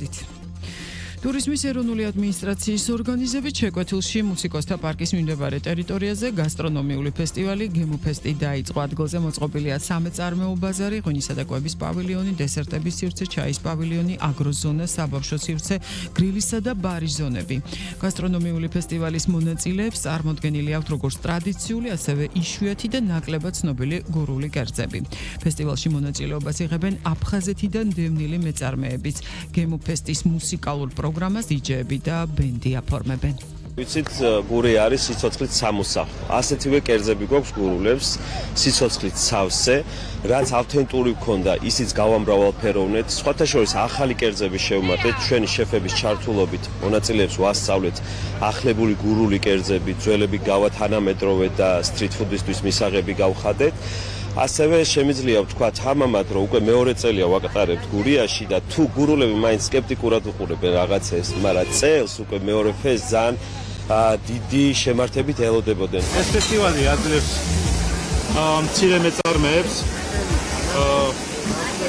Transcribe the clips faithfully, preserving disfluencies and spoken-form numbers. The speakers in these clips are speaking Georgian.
გადით. Ტურიზმის ეროვნული ადმინისტრაციის ორგანიზებით შეკვეთილში მუსიკოსთა პარკის მიმდებარე ტერიტორიაზე გასტრონომიული ფესტივალი გემოფესტი დაიწყო. ადგილზე მოწყობილია სამეწარმეო ბაზარი, ღვინისა და კვების პავილიონი, დესერტების სივრცე, ჩაის პავილიონი, აგროზონა, საბავშვო სივრცე, გრილისა და ბარის ზონები. გასტრონომიული ფესტივალის მონაწილეებს წარმოდგენილი აქვთ როგორც ტრადიციული, ასევე იშვიათი და ნაკლებად ცნობილი გურული კერძები. ფესტივალში მონაწილეობას იღებენ აფხაზეთიდან დევნილი მეწარმეებიც. გემოფესტის მუსიკალურ პროგრამას დიჯეები და ბენდი აფორმებენ. ვიცით, გური არის სიცოცხლით სამოსახლო. ასეთივე კერძები გვაქვს გურულებს, სიცოცხლით სავსე, რაც ავთენტური გქონდა, ისიც გავამრავალფეროვნეთ. სხვათა შორის ახალი კერძები შევმატეთ, ჩვენი შეფების ჩართულობით მონაწილეებს ვასწავლეთ ახლებული გურული კერძები, ძველები გავათანამედროვეთ და სტრიტ ფუდისთვის მისაღები გავხადეთ. ასევე შემიძლია ვთქვათ ამამად, რომ უკვე მეორე წელია ვაკატარებთ გურიაში და თუ გურულები მაინც სკეპტიკურად უყურებენ რაღაცას, მაგრამ წელს უკვე მეორე ფესტს ძალიან დიდი შემართებით ელოდებოდნენ. ეს ფესტივალი აძლევს მცირე მეწარმეებს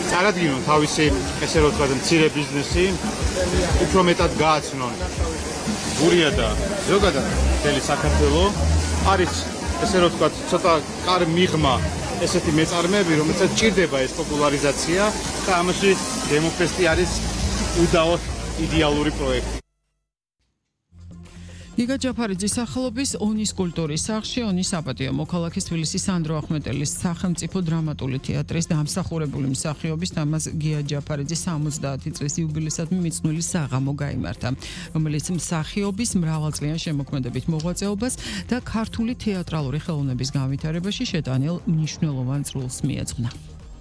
წარადგინონ თავისი, ესე რომ ვთქვათ, მცირე ბიზნესი, უფრო მეტად გააცნონ გურია და ზოგადად მთელი საქართველო. არის, ესე რომ ვთქვათ, ცოტა კარ მიღმა ესეთი მეწარმეები, რომელსაც ჭირდება ეს პოპულარიზაცია და ამაში გემოფესტი არის უდავოდ იდეალური პროექტი. გიგა ჯაფარიძის სახელობის ონის კულტურის სახლში ონის საპატიო მოქალაქის თბილისის სანდრო ახმეტელის სახელმწიფო დრამატული თეატრის დამსახურებული მსახიობის თამაზ გია ჯაფარიძის სამოცდაათი წლის იუბილეისადმი მიძღვნილი საღამო გაიმართა, რომელიც მსახიობის მრავალწლიან შემოქმედებით მოღვაწეობას და ქართული თეატრალური ხელოვნების განვითარებაში შეტანილ მნიშვნელოვან წვლილს მიეძღვნა.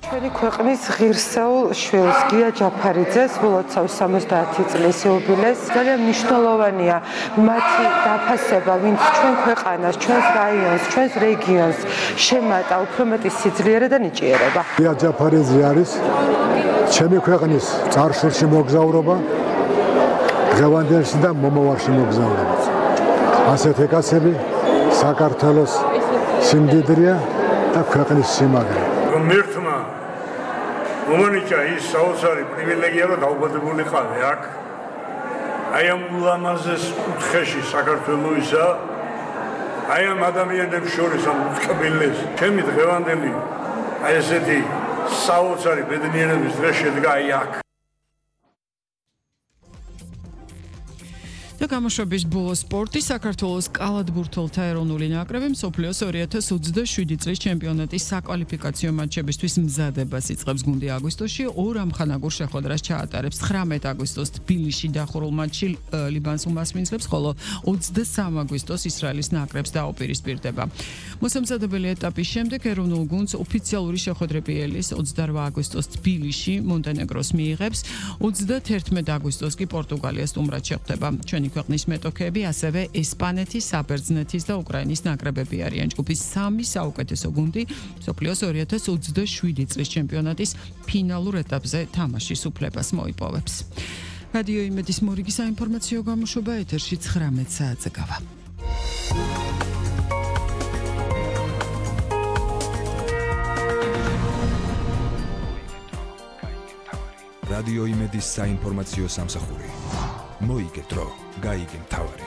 ჩვენი ქვეყნის ღირსეულ შვილს გია ჯაფარიძეს ვლოცავს სამოცდაათი წლის იუბილეს. ძალიან მნიშვნელოვანია მათი დაფასება, ვინც ჩვენ ქვეყანას, ჩვენს რაიონს, ჩვენს რეგიონს შემატა უფრო მეტი სიძლიერე და ნიჭიერება. გია ჯაფარიძე არის ჩემი ქვეყნის წარსულში მოგზაურობა, დღევანდელში და მომავალში მოგზაურობა. ასეთი კაცები საქართველოს სიმდიდრეა და ქვეყნის სიმაგრე. ღმერთმა მომანიჭა ის საოცარი პრივილეგია, რომ დაუბადებულიყავი აქ. აი ამ ულამაზეს კუთხეში საქართველოისა, აი ამ ადამიანებს შორის ამ უწყებელეს. ჩემი დღევანდელი აი ესეთი საოცარი ბედნიერების დღე შედგა აი აქ. და გამოშვების ბოლო სპორტი საქართველოს კალათბურთელთა ეროვნული ნაკრები მსოფლიოს ორი ათას ოცდაშვიდი წლის ჩემპიონატის საკვალიფიკაციო მატჩებისთვის მზადებას იწყებს. გუნდი აგვისტოში ორ ამხანაგურ შეხვედრას ჩაატარებს. ცხრამეტ აგვისტოს თბილისში დახურულ მატჩში ლიბანს უმასპინძლებს, ხოლო ოცდასამი აგვისტოს ისრაელის ნაკრებს დაუპირისპირდება. მოსამზადებელი ეტაპის შემდეგ ეროვნულ გუნდს ოფიციალური შეხვედრები ელის ოცდარვა აგვისტოს თბილისში მონტენეგროს მიიღებს, ოცდაათერთმეტ აგვისტოს კი პორტუგალიას სტუმრად შეხვდება. ჩვენი ქვეყნის მეტოქეები ასევე ესპანეთის, საბერძნეთის და უკრაინის ნაკრებები არიან. ჯგუფის სამი საუკეთესო გუნდი მსოფლიოს ორი ათას ოცდაშვიდი წლის ჩემპიონატის ფინალურ ეტაპზე თამაშის უფლებას მოიპოვებს. რადიო იმედის მორიგი საინფორმაციო გამოშვება ეთერში ცხრამეტ საათზე გავა. რადიო იმედის საინფორმაციო სამსახური. მოიგეთ დრო, გაიგე მთავარი.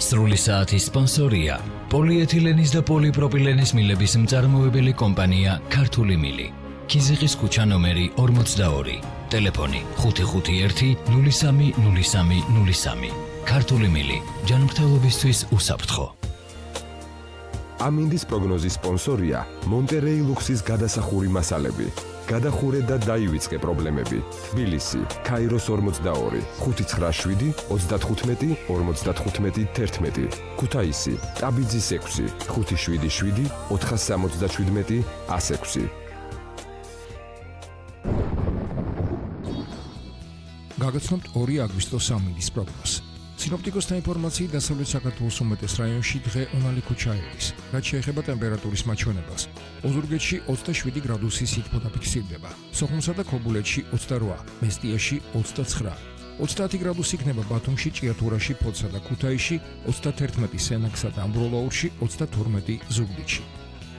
სრული საათის სპონსორია პოლიეთილენის და პოლიპროპილენის მილების მწარმოებელი კომპანია ქართული მილი. ქიზიყის ქუჩა ნომერი ორმოცდაორი. ტელეფონი ხუთი ხუთი ერთი ნული სამი ნული სამი ნული სამი. ქართული მილი ჯანმრთელობისთვის უსაფრთხო. ამინდის პროგნოზის სპონსორია მონტერეი ლუქსის გადასახური მასალები. გადახურე და დაივიწყე პრობლემები. თბილისი, ქაიროს ორმოცდაორი, ხუთი ცხრა შვიდი ოცდათხუთმეტი ორმოცდათხუთმეტი თერთმეტი. ქუთაისი, ტაბიძის ექვსი, ხუთი შვიდი შვიდი ოთხასამოცდაშვიდმეტი ას ექვსი. გაგაცნობთ ორი აგვისტოს ამინდის პროგნოზს. სინოპტიკოსთა ინფორმაციით დასავლეთ საქართველოს უმეტეს რაიონში დღე უნალი ქუჩაევის, რაც შეეხება ტემპერატურის მაჩვენებელს. ოზურგეთში ოცდაშვიდი გრადუსი სითბო დაფიქსირდება, სოხუმსა და ქობულეთში ოცდარვა, მესტიაში ოცდაცხრა. ოცდაათი გრადუსი იქნება ბათუმში, ჭიათურაში, ფოთსა და ქუთაისში, ოცდათერთმეტი სენაკსა და ამბროლაურში, ოცდათორმეტი ზუგდიდში.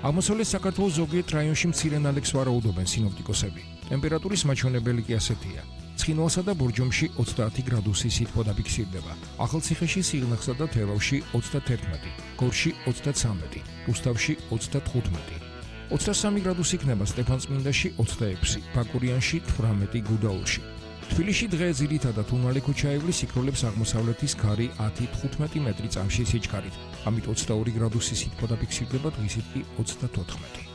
აღმოსავლეთ საქართველოს ზოგიერთ რაიონში მცირე ნალექს ვარაუდობენ სინოპტიკოსები. ტემპერატურის მაჩვენებელი კი ასეთია. ცხინვალსა და ბორჯომში ოცდაათი გრადუსი სითბო დაფიქსირდება. ახალციხეში, სიღნაღსა და თელავში ოცდათერთმეტი, გორში ოცდაცამეტი, რუსთავში ოცდათხუთმეტი. ოცდასამი გრადუსი იქნება სტეფანწმინდაში ოცდაექვსი, ბაკურიანში თვრამეტი, გუდაურში. თბილისში დღე ძირითადად უნალი ქუჩაევლის იქროლებს აღმოსავლეთის ქარი ათი თხუთმეტი მეტრი წამში სიჩქარით. ამით ოცდაორი გრადუსი სითბო დაფიქსირდება, დღისით კი ოცდათოთხმეტი.